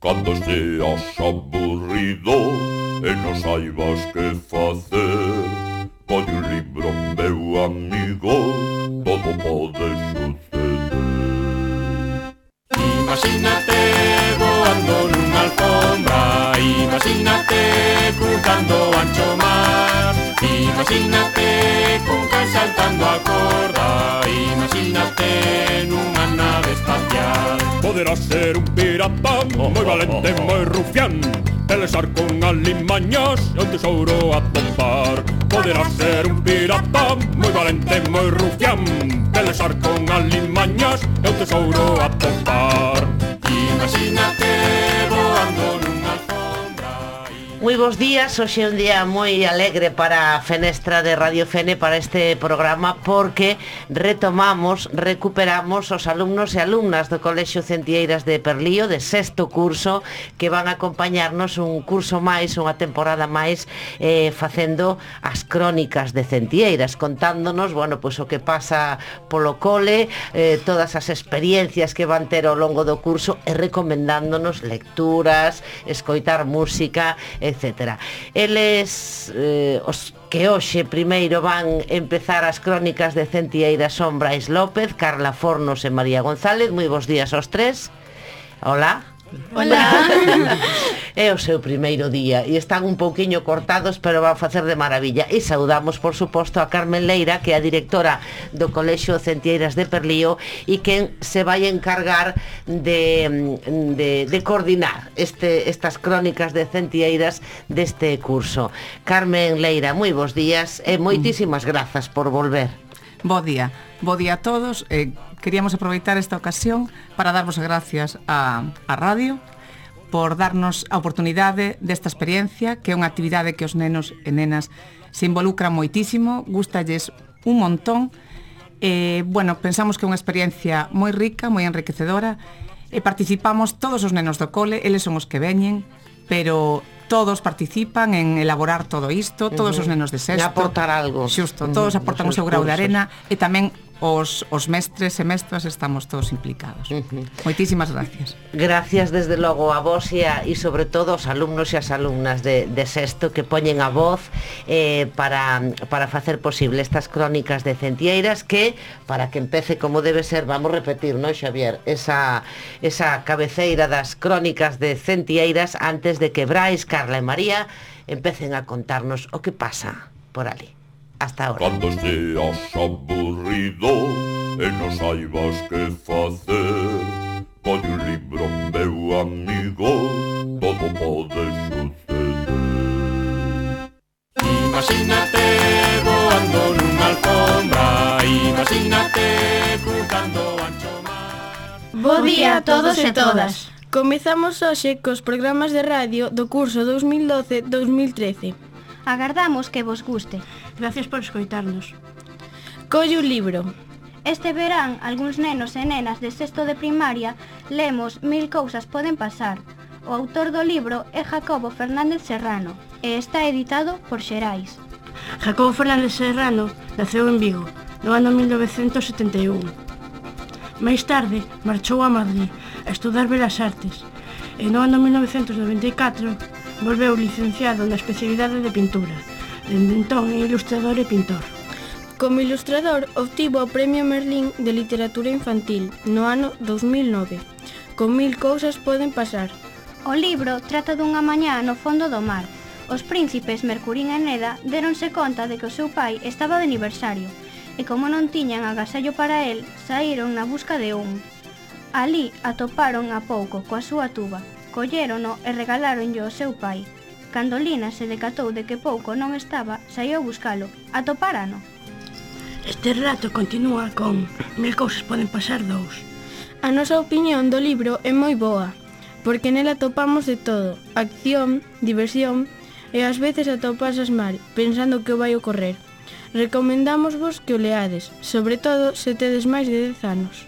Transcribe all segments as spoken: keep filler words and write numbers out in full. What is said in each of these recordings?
Cando seas aburrido e non saibas que facer, colle un libro, meu amigo, todo pode suceder. Imagínate voando nunha alfombra, imagínate cruzando o ancho mar, imagínate con can saltando a corda, imagínate nunha nave espacial. Poderás ser un pirata moi valente, moi rufián, pelexar con alimañas e o tesouro a topar. Poderás ser un pirata moi valente, moi rufián, pelexar con alimañas e o tesouro a topar. Imagínate voando nunha alfombra. Moi bons días, hoxe é un día moi alegre para a Fenestra de Radio Fene, para este programa, porque retomamos, recuperamos os alumnos e alumnas do Colexio Centlleiras de Perlío, de sexto curso, que van a acompañarnos un curso máis, unha temporada máis, eh, facendo as crónicas de Centlleiras, contándonos, bueno, pois o que pasa polo cole, eh, todas as experiencias que van ter ao longo do curso e recomendándonos lecturas, escoitar música, etcétera. Eles, eh, os que hoxe primeiro van empezar as crónicas de Centlleiras son Brais López, Carla Fornos e María González. Moi bons días aos tres. Hola. Hola. É o seu primeiro día e están un pouquiño cortados, pero van facer de maravilla. E saudamos, por suposto, a Carmen Leira, que é a directora do Colexio Centlleiras de Perlío e quen se vai encargar de, de, de coordinar este, estas crónicas de Centlleiras deste curso. Carmen Leira, moi bons días e moitísimas grazas por volver. Bo día, bo día a todos. eh, Queríamos aproveitar esta ocasión para darvos as gracias a, a radio por darnos a oportunidade desta experiencia, que é unha actividade que os nenos e nenas se involucran moitísimo, gustalles un montón. E, bueno, pensamos que é unha experiencia moi rica, moi enriquecedora, e participamos todos os nenos do cole, eles son os que veñen, pero todos participan en elaborar todo isto, todos uh-huh. os nenos de sexto. E aportar algo. Xusto, todos uh-huh. aportan o seu grau de arena e tamén os, os mestres e mestras estamos todos implicados. Uh-huh. Moitísimas gracias. Gracias desde logo a vos e, a, e sobre todo aos alumnos e as alumnas de, de sexto que poñen a voz eh, para, para facer posible estas crónicas de Centlleiras, que, para que empece como debe ser, vamos repetir, non, Xavier? Esa, esa cabeceira das crónicas de Centlleiras antes de que Brais, Carla e María empecen a contarnos o que pasa por ali. Hasta ahora. Cando seas aburrido e non saibas que facer, colle un libro, meu amigo, todo pode suceder. Imagínate voando nunha alfombra, imagínate cruzando o ancho mar. Bo día a todos e todas. Comezamos hoxe cos programas de radio do curso dos mil doce dos mil trece. Agardamos que vos guste. Gracias por escoitarnos. Colle un libro. Este verán, algúns nenos e nenas de sexto de primaria lemos Mil cousas poden pasar. O autor do libro é Jacobo Fernández Serrano e está editado por Xerais. Jacobo Fernández Serrano naceu en Vigo no ano mil novecentos setenta e un. Máis tarde marchou a Madrid a estudar Belas Artes e no ano mil novecentos noventa e catro volveu licenciado na especialidade de pintura. Dende entón é ilustrador e pintor. Como ilustrador obtivo o Premio Merlín de Literatura Infantil no ano dos mil nove, con Mil cousas poden pasar. O libro trata dunha mañá no fondo do mar. Os príncipes Mercurín e Neda deronse conta de que o seu pai estaba de aniversario e como non tiñan agasallo para el, saíron na busca de un. Alí atoparon a pouco coa súa tuba, collérono e regaláronllo ao seu pai. Cando Lina se decatou de que pouco non estaba, saiu a buscalo. Atopárano. Este relato continúa con Mil cousas poden pasar dous. A nosa opinión do libro é moi boa, porque nela atopamos de todo, acción, diversión e ás veces ata o pasas mal, pensando que o vai ocorrer. Recomendámosvos que o leades, sobre todo se tedes máis de dez anos.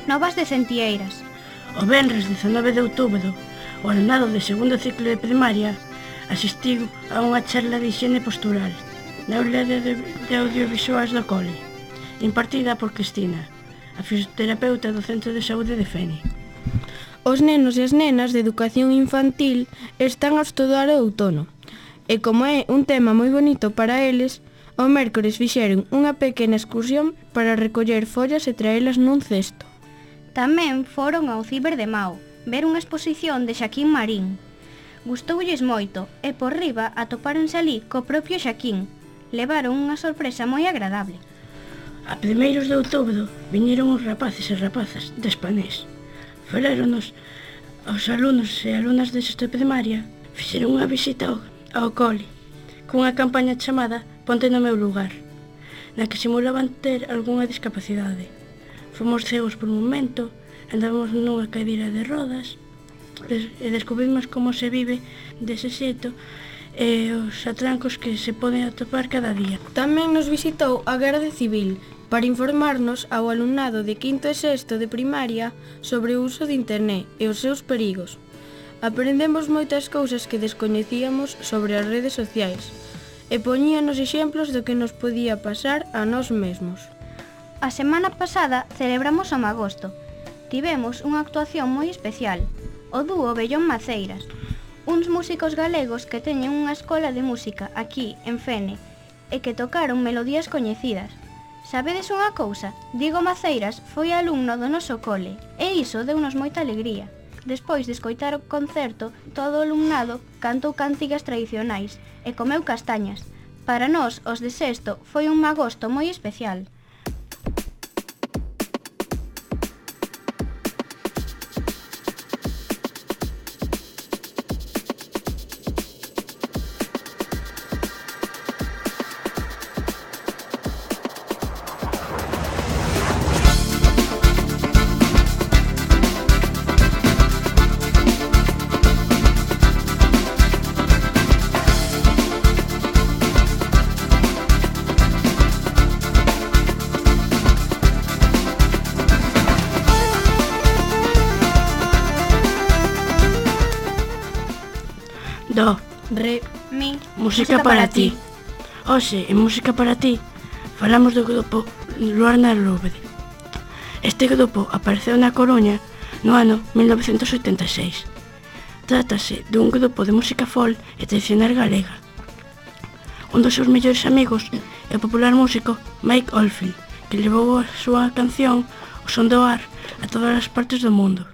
Novas de Centieiras. O venres dezanove de outubro, o alumnado de segundo ciclo de primaria asistiu a unha charla de higiene postural na aula de, de, de audiovisuais do cole, impartida por Cristina, a fisioterapeuta do Centro de Saúde de Fene. Os nenos e as nenas de educación infantil están a estudar o outono, e como é un tema moi bonito para eles, o mércores fixeron unha pequena excursión para recoller follas e traelas nun cesto. Tamén foron ao Ciber de Mao, ver unha exposición de Xaquín Marín. Gustoulles moito e por riba atopáronse ali co propio Xaquín. Levaron unha sorpresa moi agradable. A primeiros de outubro viñeron os rapaces e rapazas de Espanés. Faláronos aos alumnos e alumnas de sexto de primaria. Fixeron unha visita ao, ao cole cunha campaña chamada Ponte no meu lugar, na que simulaban ter algunha discapacidade. Fomos cegos por un momento, andamos nunha cadeira de rodas e descubrimos como se vive dese xeito e os atrancos que se poden atopar cada día. Tamén nos visitou a Garda Civil para informarnos ao alumnado de quinto e sexto de primaria sobre o uso de internet e os seus perigos. Aprendemos moitas cousas que descoñecíamos sobre as redes sociais e poñíanos exemplos do que nos podía pasar a nós mesmos. A semana pasada celebramos o Magosto. Tivemos unha actuación moi especial, o dúo Bellón Maceiras, uns músicos galegos que teñen unha escola de música aquí, en Fene, e que tocaron melodías coñecidas. Sabedes unha cousa? Diego Maceiras foi alumno do noso cole, e iso deunos moita alegría. Despois de escoitar o concerto, todo o alumnado cantou cantigas tradicionais e comeu castañas. Para nós, os de sexto, foi un magosto moi especial. Do, Re, mi, música para ti. Hoxe, en Música para ti, falamos do grupo Luarna Lobre. Este grupo apareceu na Coruña no ano mil novecentos oitenta e seis. Trátase dun grupo de música folk e tradicional galega. Un dos seus mellores amigos é o popular músico Mike Oldfield, que levou a súa canción O Son do Ar a todas as partes do mundo.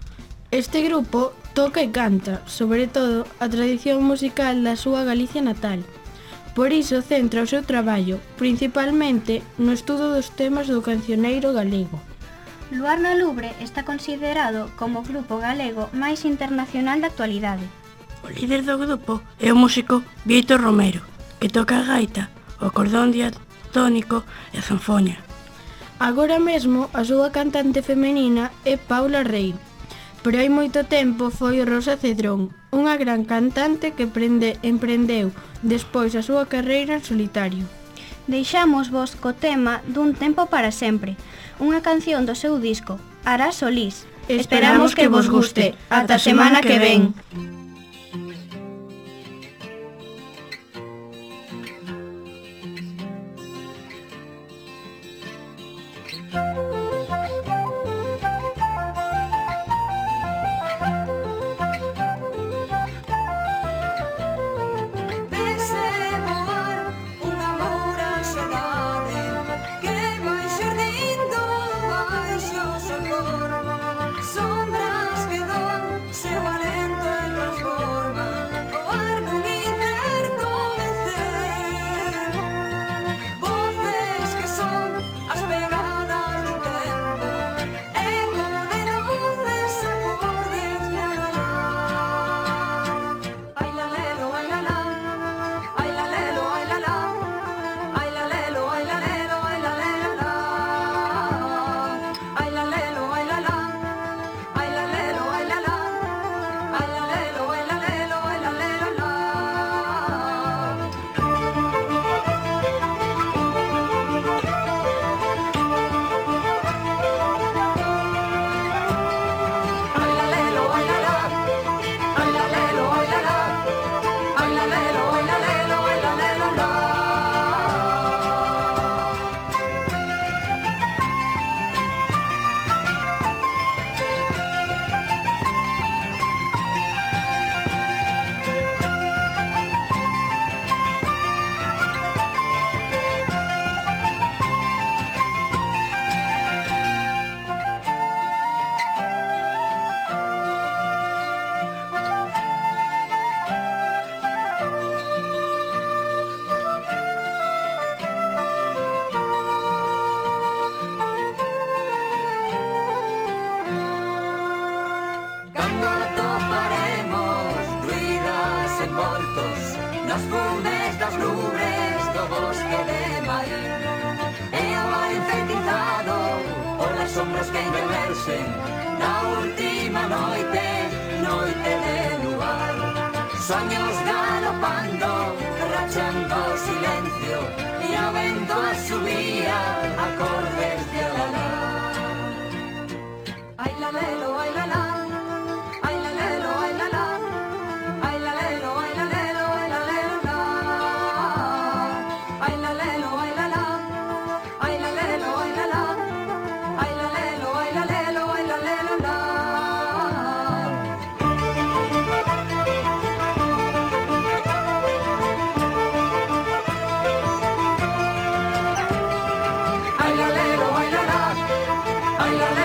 Este grupo toca e canta, sobre todo, a tradición musical da súa Galicia natal. Por iso centra o seu traballo, principalmente, no estudo dos temas do cancioneiro galego. Luarna Lubre está considerado como o grupo galego máis internacional da actualidade. O líder do grupo é o músico Vítor Romero, que toca a gaita, o cordón diatónico e a zanfoña. Agora mesmo, a súa cantante femenina é Paula Rei, pero hai moito tempo foi Rosa Cedrón, unha gran cantante que prende, emprendeu despois a súa carreira en solitario. Deixamos vos co tema Dun tempo para sempre, unha canción do seu disco, Ará Solís. Esperamos que vos guste. Ata a semana que ven. Sombras que dan seu alento en los postos nas fumes das nubes do bosque de Maín. E ao ar enfeitizado polas sombras que envelhecen na última noite, noite de luar. Soños galopando, rachando o silencio, e o vento a subía acordes de olalá. Ai la lelo, ai la la, ai la lelo, ai la la, ai la lelo, ai la lelo, ai la lelo la, ai la lelo, ai la la, ai la lelo, ai la la, ai la lelo, ai la lelo, ai la lelo la. Ai la lelo, ai la la, ai la lelo.